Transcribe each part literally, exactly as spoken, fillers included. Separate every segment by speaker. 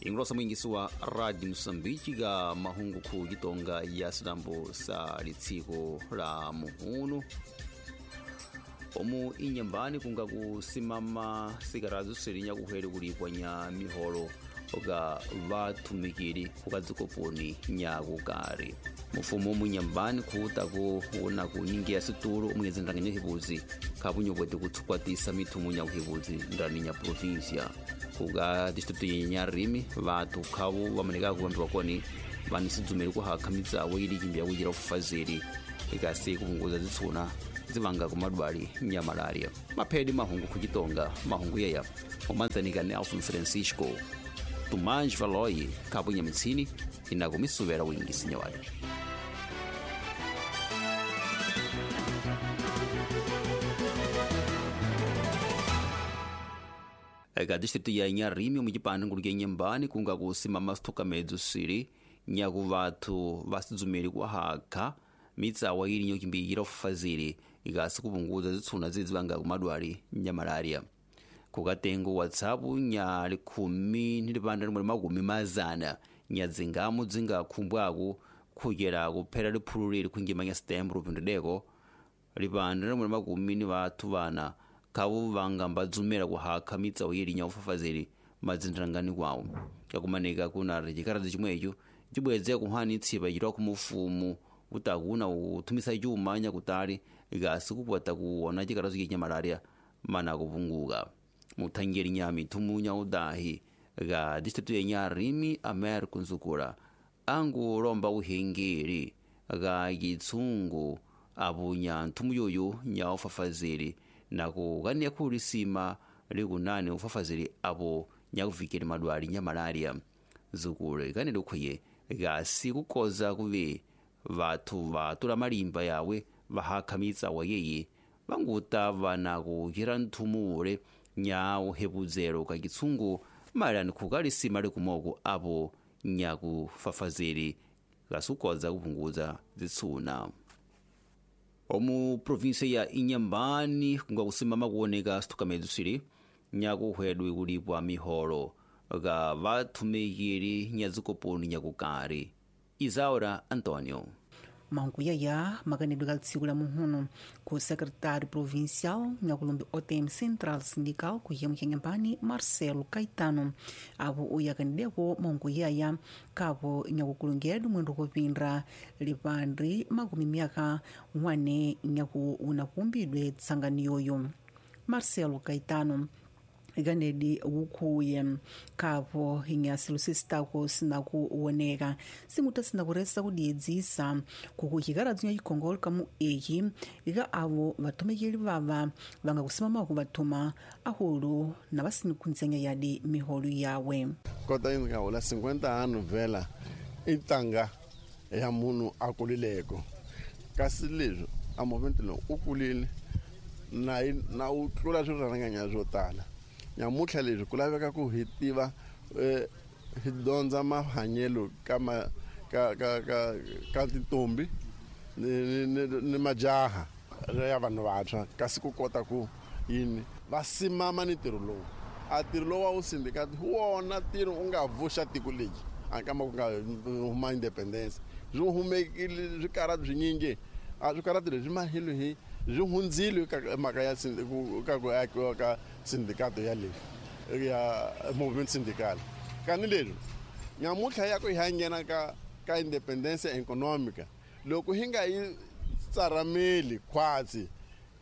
Speaker 1: Ingrosa mwingisi wa Radio Msumbiji ga mahungu ku gitonga ya silambo sa litsiko la muhunu. Omu inyambani kunga kusimama sikarazu sirinya kuheri kulipwa nya miholo ga vatumikiri kukadzikoponi nyakukari. Mufumo munyambani kuutako una kuningia situlo omwezi ndanganya hibuzi kabunyobwete kutsukwatisa mithumu nyakuhibuzi ndani nya provincia. Kuga district ya Nyarimi vatu khavo vamaneka kuambiwa koni vanisidzumeri kuhakha mitsawo ili kimbya kuchira kufazeli ikasi kupunguza zitsuna zivanga kumadwali nya malaria. Maphedi mahungu kuchitonga mahungu yeya omanzanika Nelson Francisco Tumanj Valoyi kabunya mitsini inakumisuvera wingi sinyawali. Eka district ya Nyarimi omuchipani ngulu kya Nyambani kunga kusimama sithukamedzo sili nyaku vathu vasidzumeri kuhakha mitsawa ili nyokimbiyira ufazili ikasi kupunguza zitsuna zizivanga kumadwali nya malaria. Kukatengo WhatsApp nya likhumi ni lipanda limwe makumi mazana nya dzingamu dzingakhumbwaku khuyera kuphera liphulu lili khwingima nya setembro pindideko lipanda limwe makumi ni vathu vana khavo vanga mbadzumela kuhakha mitsawo yili nya ufafazeli madzindrangani kwawo. Kakumanika kuna chikaradzi chimwecho chibwedze kuhani tsipa chitwa kumufumu utakuna uthumisa chuma nyakutali ikasi kupwata kuona chikaradzi cha malaria mana kupunguka. Muthangeri nya mithumu nya udahi ga district ya Nyarimi Amer Kunzukula angulomba uhengeri ga kitsungu abunya nthumu yoyo nya ufafazeli nakukaniya khulisima likunani ufafazeli apo nyakuvikeli madwali nya malaria. Zukule ikanele ukhuye gasi kukoza kuve vathu vatula malimba yawe vahakha mitsawa yeye vanguta vana kuchira nthumu ule nya uhepudzero ka kitsungu malani khukalisima likumoko apo nyakufafazeli kasukoza kupunguza zitsuna. Omu provinsia ya Inyambani kunga kusimama kuoneka sithukamedzo sili nyakuhwedwe kulipwa miholo ga vathumikiri nyazikoponi nyakukari. Isaura Antonio.
Speaker 2: Mahungu yaya makanedwe ka tsiku la muhunu ku secretário provincial nyakulumbi O T M Central Sindical ku yemu kya Nyambani Marcelo Caetano apo uyakanideko mahungu yaya kapo nyakukulungedu mwendo kupindra lipandri makumi myaka wane nyaku unakumbidwe tsanganiyoyo. Marcelo Caetano ikanedi wukhuye kapo inyasilo sisitako sinakuwoneka singuta sinakuresa kudiedzisa kukuchikaradzi nya chikhongolo kamu eki ika avo vathomekeli vava vangakusimamako vathuma ahulu na vasinikhunzenya yadi miholo yawe.
Speaker 3: Kota yini ka cinquenta anos vela itanga ya munhu a kulileko kasi leswi a movement lowu u kulile na na u tlula swirharanganya swo tala. Nyamutlha leswi ku laveka ku hi tiva hi dyondza mahanyelo ka ma ka ka ka ka tintombi ni ni ni majaha ya vanhu vantshwa kasi ku kota ku yini va simama ni ntirho lowu. A ntirho lowu wa wu sindikati hi wona ntirho u nga vuxa tiko lexi a kama ku nga huma independence swi humekile swikarati swinyingi a swikarati leswi mahilo hi swi hundzile ka mhaka ya ka ku akiwa ka sindicato ya le ya movement sindical. Kani leswi nyamutlha ya ku hi nghena ka ka independence economica loko hi nga yi tsarameli khwatsi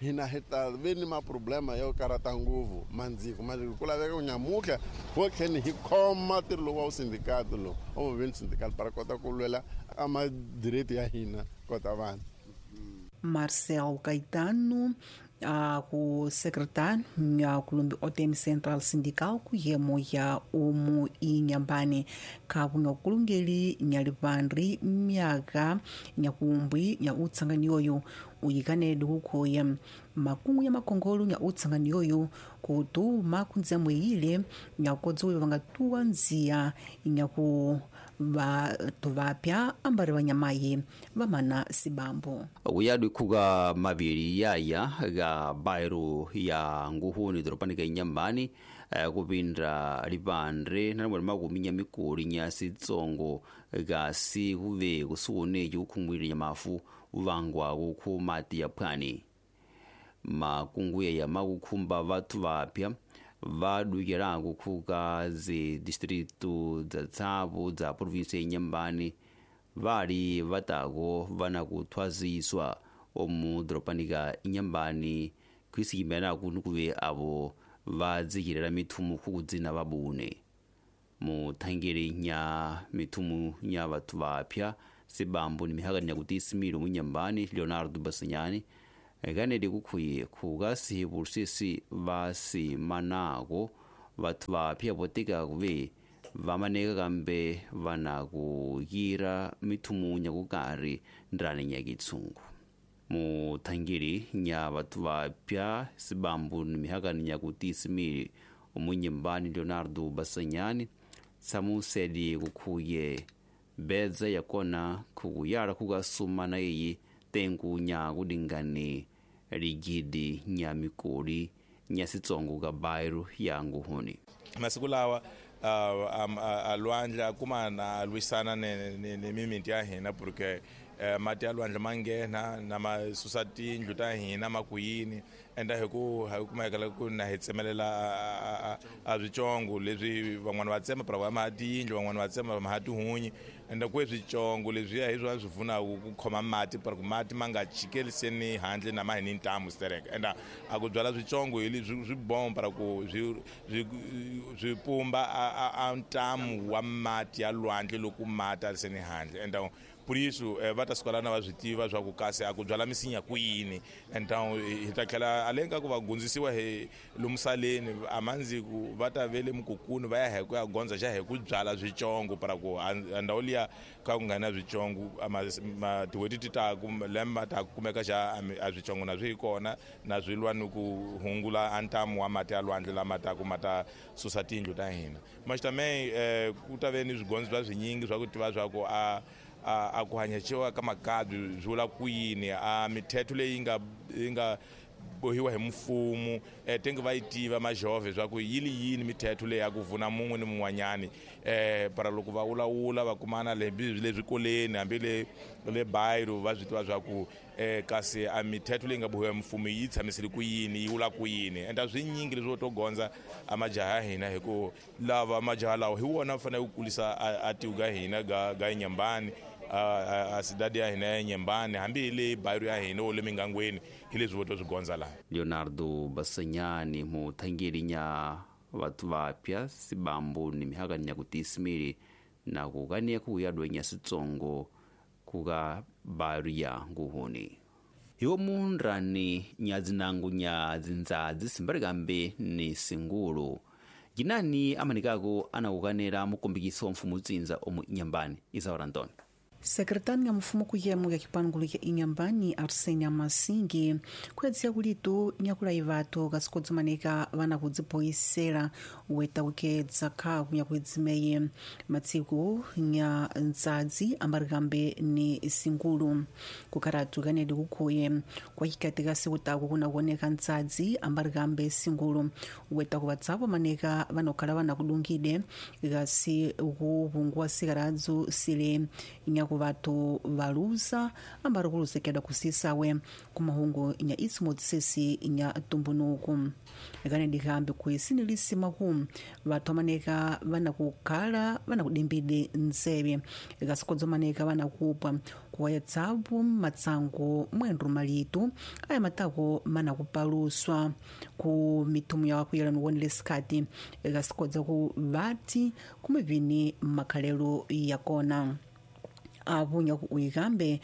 Speaker 3: hina hi ta ve ni maproblema yo karata nguvu mandziko mandziko ku laveka ku nyamutlha ho tlheni hi khoma ntirho lowu wa sindicato lowu wa movement sindical para kota ku lwela a madireti ya hina kota vanhu.
Speaker 2: Marcel Caetano a ku secretário ya kulumbi O T M Central Sindical ku yemo ya umu Inyambani kapu nyakulungeli nyalipandri myaka nyakumbwi nya utsanganiyoyo uyikanedi kukhuya makungu ya makongolo nya utsanganiyoyo kutuma kunzemwe ile nyakodzowe vangatuwa nziya nyaku vathu vapya ambari vanyamayi vamana sibambo.
Speaker 1: Uyadu kuga maviri yaya ga bairo ya nguhuni doropanika Inyambani Kupinda lipandre nalimwe makumi nyamikoli nya sitsongo kasi kuve kusuoneki kukhungwire nyamafu uvangwako khu mati ya phwani. Makunguye ya makukhumba vathu vapya vadukelako khuka zidistritu dza tsavu dza provinsi ya Inhambane vali vatako vana kuthwaziswa omu doropani ka Inhambane khwisikimelaku nikuve avo vadzikirela mithumu khukudzina vabune. Muthangeli nya mithumu nya vathu vapya sibambo ni mihakani ya kutisimilo mu Inhambane Leonardo Bassignani kaneli kukhuye khukasihi sisi vasimanako vathu vapya votika kuve vamaneka kambe vana kuyira mithumu nya kukari ndrani nya kitsungu. Muthangeli nya vathu vapya sibambo ni mihakani nya kutisimili omu Inhambane Leonardo Bassignani tsamuseli kukhuye bedza yakona khukuyala khukasumana iyi tengu nya kudingani ligidi nya mikoli nya sitsongo ka bairo ya nguhuni.
Speaker 4: Masiku lawa a lwandle a kuma na lwisana ni ni mimiti ya hina porque mati ya lwandle ma nghena na ma susa tindlu ta hina ma ku yini enda hi ku hi kumeka ku na hi tsemelela a switsongo leswi van'wana va tsema para va ma tiyindlu van'wana va tsema ma tihunyi enda ku switsongo leswi hi swona swi pfunaka ku khoma mati para ku mati ma nga chikeliseni handle na ma hi ni ntamu stereka enda a ku byala switsongo hi leswi swi bomba para ku swi swi pumba a ntamu wa mati ya lwandle loko mati a seni handle enda por isso va ta suka lana va swi tiva swa ku kasi a ku byala misinya ku yini então hi ta tlhela aleng ka ku va gundzisiwa hi lomusaleni a mandziku va ta ve le mukukuni va ya hi ku ya gondza xa hi ku byala switsongo para ku a ndhawu liya ka ku nga na switsongo tin'hweti ti ta ku lembe ta kumeka xa a switsongo na swi hi kona na swi lwa ni ku hungula a ntamu wa mati ya lwandle lama taku ma ta susa tindlu ta hina mas também ku ta ve ni swigondzo swa swinyingi swa ku tiva swa ku a a ku hanyaxiwa ka makabyi swi vula ku yini a mithetho leyi nga yi nga bohiwa hi mfumo tenge va yi tiva majove swa ku yi li yini mithetho leyi ya ku vuna mun'we ni mun'wanyani um para loko va wulawula va kumana le le swikolweni hambi le le bairo va swi tiva swa ku um kasi a mithetho leyi nga bohiwa hi mfumo yi tshamisile ku yini yi vula ku yini enda swinyingi leswi to gondza a majaha ya hina hi ku lava majaha lawa hi wona fanele ku kulisa a tiko ga hina ga ga Inhambane a cidade ya hina ya Inhambane hambi hi le bairo ya hina o le mingangweni hi leswi vo to swi gondza laha.
Speaker 1: Leonardo Bassignani muthangeli nya vathu vapya sibambo ni mihakani ya kutisimili na kukania kuyadwa nya sitsongo kuka bairo ya nguhuni. Hiwo mundrani nya dzinangu nya dzindzadzi simbalikambe ni singulu jinani amanikako anakukanera mukombikiso wa mfumu utsinza omu Inhambane. Isaura Antônio.
Speaker 2: Sekretari ya mfumo kuyemo ya kipangulo ya Inhambane Arsênia Massingue kuyadzia kulitu nyakula ivato kasikodzimanika vana kudzipoyisela weta kukedza khaku nyakudzimeye matsiku nya ndzadzi ambarikambe ni singulu kukharatu kanedi kukhuye kwachikatika sikutaku kunakuoneka ndzadzi ambarikambe singulu weta kuvatsapo maneka vanokhala vana kudungide kasi kupungua sikaradzu sile nyaku vathu valuza ambari kuluzekedwa kusisawe kumahungu nya isimotsesi nya tumbunuku kanedi kambi kuisini lisimaku vathu amaneka vana kukhala vana kudimbide ntseve kasikodzo maneka vana kupwa kuwayatsapo matsango mwendro malitu aya matako mana kupaluswa ku mithumu ya kuyela nuwonele sikati kasikodza ku vati kumivini makhalelo yakona. Avunya ku uyikambe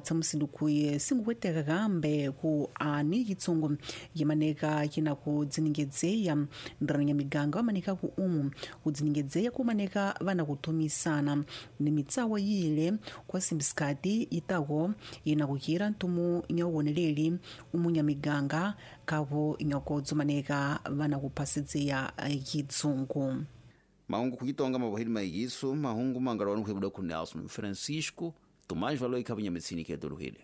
Speaker 2: tsamusindu kuye singukweteka kambe ku ani chitsungo yimaneka china kudziningedzeya ndiranya miganga vamaneka ku umu kudziningedzeya kumaneka vana kuthumisana ni mitsawa yile kwa simbisikati itako ina kuchira ntumu nyauwoneleli umunya miganga kapo inyakodzomaneka vana kuphasidzeya chitsungo.
Speaker 1: Mahungu kukitonga mabahili maigiso mahungu mangarwanu kuhebuda ku Nelson Francisco Tomás Valoi kabunya metsini ke doluhile.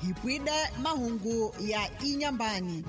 Speaker 5: Hi pwide mahungu ya Inyambani.